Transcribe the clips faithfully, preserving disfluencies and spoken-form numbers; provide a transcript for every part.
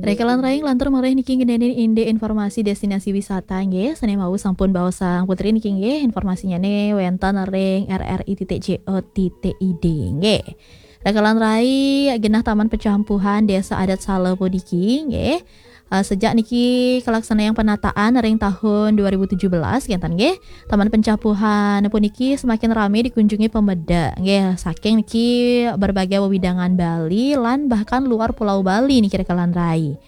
Rekelan rai, lantur malih niki ngeninin indik informasi destinasi wisata nggih. Sane wau sampun baosang Putri niki nggih, informasinyane wenten ring R R I titik C O titik I D nggih. Rekelan rai, genah Taman Pecampuhan Desa Adat Sala puniki nggih. Eh, sejak niki kalaksanayang penataan ring tahun dua ribu tujuh belas kenten nggih. Taman Pecampuhan puniki semakin rame dikunjungi pemeda nggih, saking niki berbagai wewidangan Bali lan bahkan luar Pulau Bali niki rekelan rai.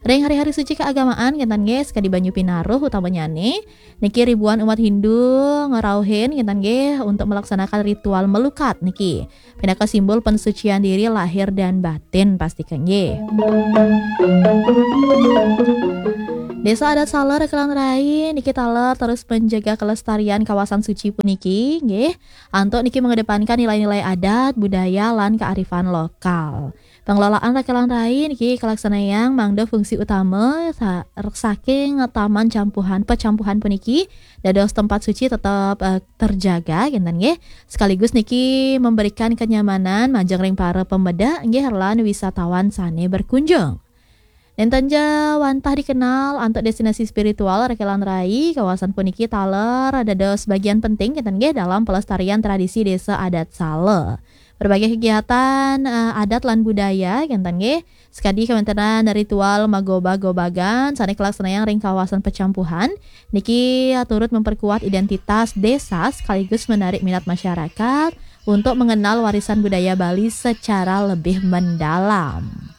Ring hari-hari suci keagamaan kenten nggih, sakadi banyu pinaruh utamanyane niki ribuan umat Hindu ngrauhin kenten nggih untuk melaksanakan ritual melukat niki pinaka simbol pensucian diri lahir dan batin pastika nggih. Desa Adat Sala rekelan rai niki taler terus menjaga kelestarian kawasan suci puniki nggih. Antuk niki mengedepankan nilai-nilai adat, budaya, lan kearifan lokal. Pengelolaan rekelan rai niki kalaksanayang mangda fungsi utama sa-, saking taman campuhan, pecampuhan puniki dados tempat suci tetap, eh, terjaga kenten nggih. Sekaligus niki memberikan kenyamanan majeng ring para pemeda nggih lan wisatawan sane berkunjung. Nenten ja wantah dikenal antuk destinasi spiritual rekelan rai, kawasan puniki taler dados bagian penting kenten nggih dalam pelestarian tradisi Desa Adat Sala. Berbagai kegiatan, eh, adat lan budaya kenten nggih, sakadi kawentenan ritual magoba-gobagan sane kalaksanayang ring kawasan pecampuhan niki turut memperkuat identitas desa sekaligus menarik minat masyarakat untuk mengenal warisan budaya Bali secara lebih mendalam.